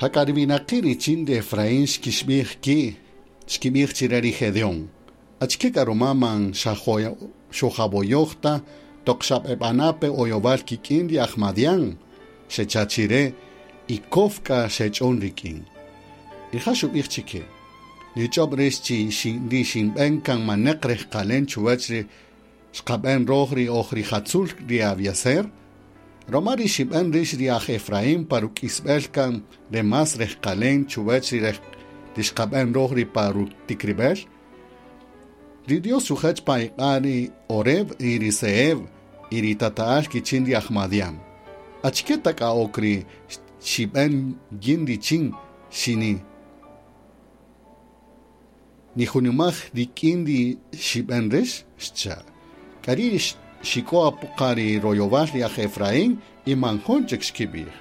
Jak'a ri winaqi' richin ri Efraín xkixb'ij ki', xkib'ij chire ri Gedeón: Achike k'a ruma man xojavoyoj ta toq xab'eb'ana' pe oyowal kik'in ri aj Madián? Xecha' chire y kof k'a xech'on rik'in. Rija' xub'ij chike: Nich'ob' rix chi ri xinb'en kan maneq rejqalen chuwäch ri xqab'en roj ri oj rijatzul ri Abiezer? Roma ri xib'en rix ri aj Efraín pa ruk'isb'el kan re más rejqalen chuwäch ri xqab'en roj ri pa rutikrib'el? Ri Dios xujech pa iq'a' ri Oreb y ri Zeeb y ri tata'al kichin ri aj Madián. Achike ta k'a ok ri xib'en yin richin xini nijunimaj rik'in ri xib'en rix? Xcha'. K'ari' xik'o apo qa ri royowal ri aj Efraín y man jun chik xkib'ij.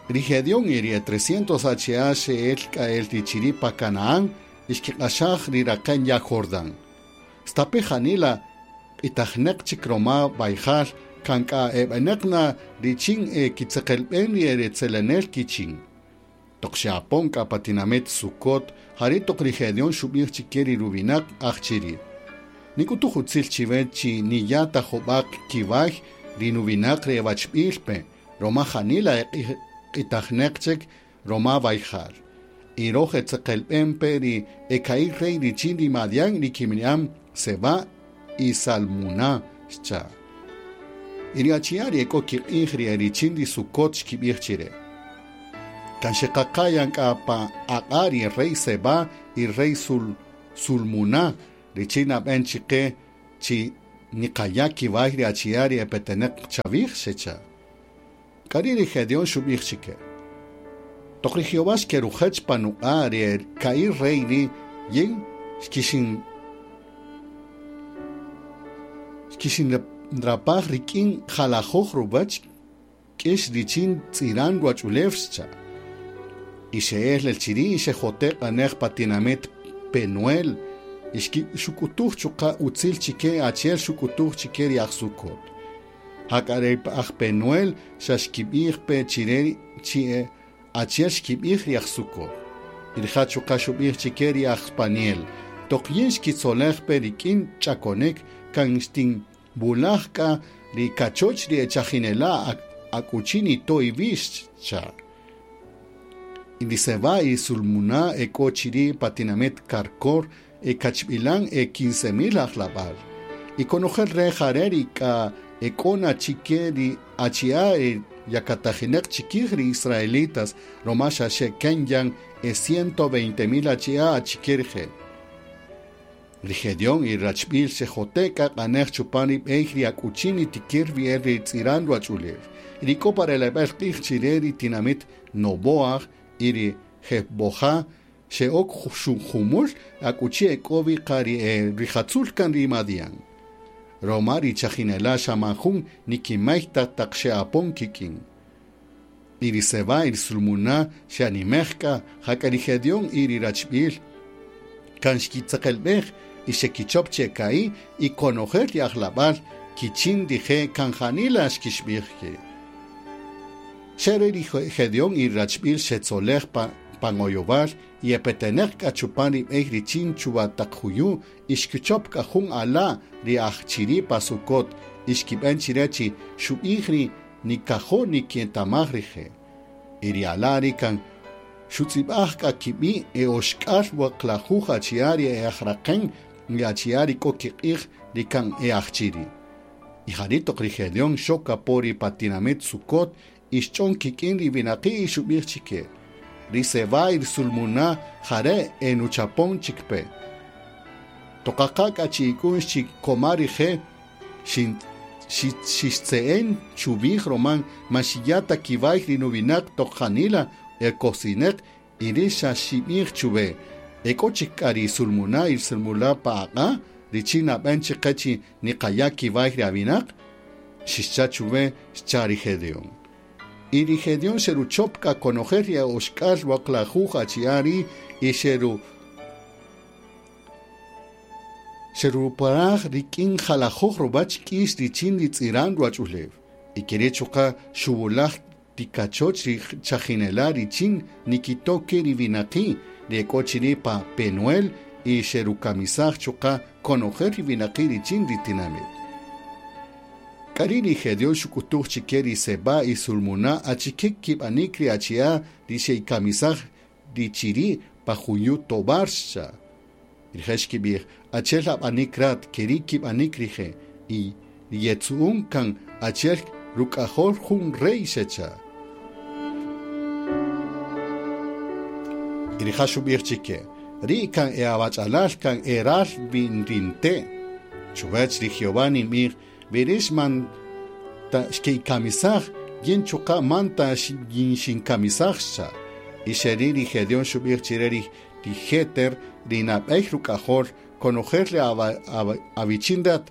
Ri Gedeón y ri e 300 achi'a' xe'el k'a el ri chiri' pa Canaán y xkiq'axaj ri raqen ya' Jordán. Stape' janila q'itajneq chik roma wayjal kan k'a e b'eneq na richin e kitzeqelb'en ri e retzelenel kichin. Toq xe'apon k'a pa tinamit Sucot, jari' toq ri Gedeón xub'ij chike ri ruwinaq aj chiri': Nik'utuj utzil chiwe chi niya' ta jub'a' kiway ri nuwinaq ri e wachb'il pe, roma janila e q'itajneq chik roma wayjal. Y roj etzeqelb'en pe ri e ka'i' rey richin ri Madián ri kib'ini'an Zebá y Salmuná, xcha'. Y ri achi'a' ri e k'o kiq'ij ri e richin ri Sucot xkib'ij chire: Kan xeqaqa yan k'a pa aq'a' ri rey Zebá y rey Sulmuná richin nab'en chike chi niqaya' kiway ri achi'a' ri e peteneq chawij, xecha'. K'ari' ri Gedeón xub'ij chike: Toq ri Jehová xkerujech pa nuq'a' ri e ka'i' rey ri' yin xkixinrapaj rik'in jalajoj ruwäch k'ix richin tz'iran ruwach'ulew, xcha'. Y xe'el el chiri' y xejote' q'anej pa tinamit Penuel y xuk'utuj chuqa' utzil chike achi'el xuk'utuj chike ri aj Sucot. Jak'a ri aj Penuel xa xkib'ij pe chire chi achi'el xkib'ij ri aj Sucot. Y rija' chuqa' xub'ij chike ri aj Paniel: Toq yin xkitzolej pe rik'in ch'akonik kan xtinwulaj k'a ri kachoch ri echajinela' akuchi nito' iwi', xcha'. Y ri Zebá y Sulmuná e k'o chiri' pa tinamit Carcor e kachb'ilan e 15,000 ajlab'al. Y konojel re' jare' ri k'a e k'o na chike ri achi'a' e yakatajineq chikij ri israelitas roma xa xeken yan e 120,000 achi'a' achike rije'. Ri Gedeón y rachb'il xejote' k'a q'anej chupan ri b'ey ri akuchi nitikir wi el ri tz'iran ruwach'ulew. Ri k'o pa releb'el q'ij chire ri tinamit Noboaj y ri Jebojá xe'ok jumul akuchi e k'o wi qa ri e rijatzul kan ri Madián. Roma ri chajinela' xa man jun nikimay ta taq xe'apon kik'in. Y ri Zebá y ri Sulmuná xe'animej k'a, jak'a ri Gedeón y ri rachb'il kan xkitzeqelb'ej y xekichop che ka'i' y konojel ri ajlab'al kichin rije' kan janila xkixb'ij ki'. Xere ri Gedeón y rachb'il xetzolej pan oyowal y epeteneq k'a chupan ri b'ey richin chuwa taq juyu' y xkichop k'a jun ala' ri aj chiri' pa Sucot y xkib'en chire chi xub'ij ri nikajo' nikietamaj rije'. Y ri ala' ri kan xutz'ib'aj k'a kib'i' e oxk'al waqlajuj achi'a' ri e ajraqen ri achi'a' ri k'o kiq'ij ri kan e aj chiri'. Y jari' toq ri Gedeón xok apo ri pa tinamit Sucot y xch'on kik'in ri winaqi' y xub'ij chike: Ri Zebá y ri Sulmuná jare' e nuchapon chik pe. Toqaqa k'a chi ik'u'x chi koma rije' xixtze'en chub'ij roman man xiya' ta kiway ri nuwinaq toq janila e kosineq y ri xa xib'ij chuwe. E k'o chik k'a ri Sulmuná y Sulmulá pa aq'a' richin nab'en chiqe chi niqaya' kiway ri awinaq? Xixcha' chuwe, xcha' ri Gedeón. Y ri Gedeón xeruchop k'a konojel ri oxk'al waqlajuj achi'a' ri' y xeruparaj rik'in jalajoj ruwäch k'ix richin ri tz'iran ruwach'ulew. Y keri' chuqa' xuwulaj ti kachoch ri chajinela' richin nikito' ki' ri winaqi' ri ek'o chiri' pa Penuel y xerukamisaj chuqa' konojel ri winaqi' richin ri tinamit. K'ari' ri Gedeón xuk'utuj chike ri Zebá y Sulmuná achike kib'anik ri achi'a' ri xe'ikamisaj ri chiri' pa juyu' Tobar, xcha'. Y rije' xkib'ij, Achi'el ab'anik rat, keri' kib'anik rije', y ri yetzu'un kan achi'el ruk'ajol jun rey, xecha'. Y rija' xub'ij chike, Ri' kan e awach'alal kan e ral ri nte'. Chuwech ri Jehová ninb'ij, wi rix man ta xke'ikamisaj, yin chuqa' man ta yinxinkamisaj, xcha'. Y xeri' ri Gedeón xub'ij chire ri Jéter, ri nab'ey ruk'ajol, Konojel ri awichin rat,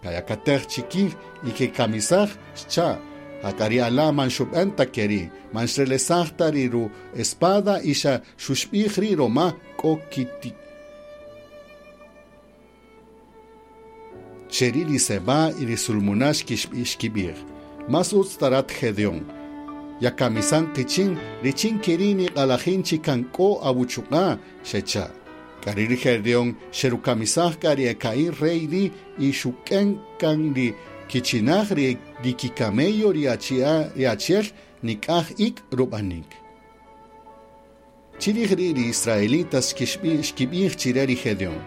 kayakatej chikij y kekamisaj, xcha'. Jak'a ri ala' man xub'en ta keri', man xrelesaj ta ri ru-espada y xa xuxb'ij ri' roma k'o kiti. Xeri' ri Zebá y ri Sulmuná xkib'ij, Más utz ta rat Gedeón, yakamisan qichin, richin keri' niq'alajin chi kan k'o awuchuq'a', xecha'. K'ari' ri Gedeón xerukamisaj k'a ri e ka'i' rey ri' y xuk'en kan ri kichinaj ri kikamello ri achi'el nik'aj ik' rub'anik. Chirij ri' ri israelitas xkib'ij chire ri Gedeón,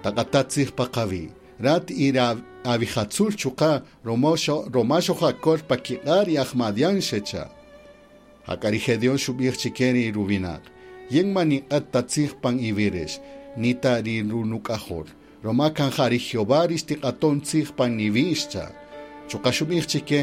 Taq'ata' tzij pa qawi', rat y ri awijatzul chuqa' roma xojakol pa kiq'a' ri aj Madián, xecha'. Jak'a ri Gedeón xub'ij chike ri ruwinaq, Yin man ninq'ät ta tzij pan iwi' rix, ni ta ri runuk'ajol, roma kan ja ri Jehová ri xtiq'aton tzij pan iwi', xcha'. Chuqa' xub'ij chike,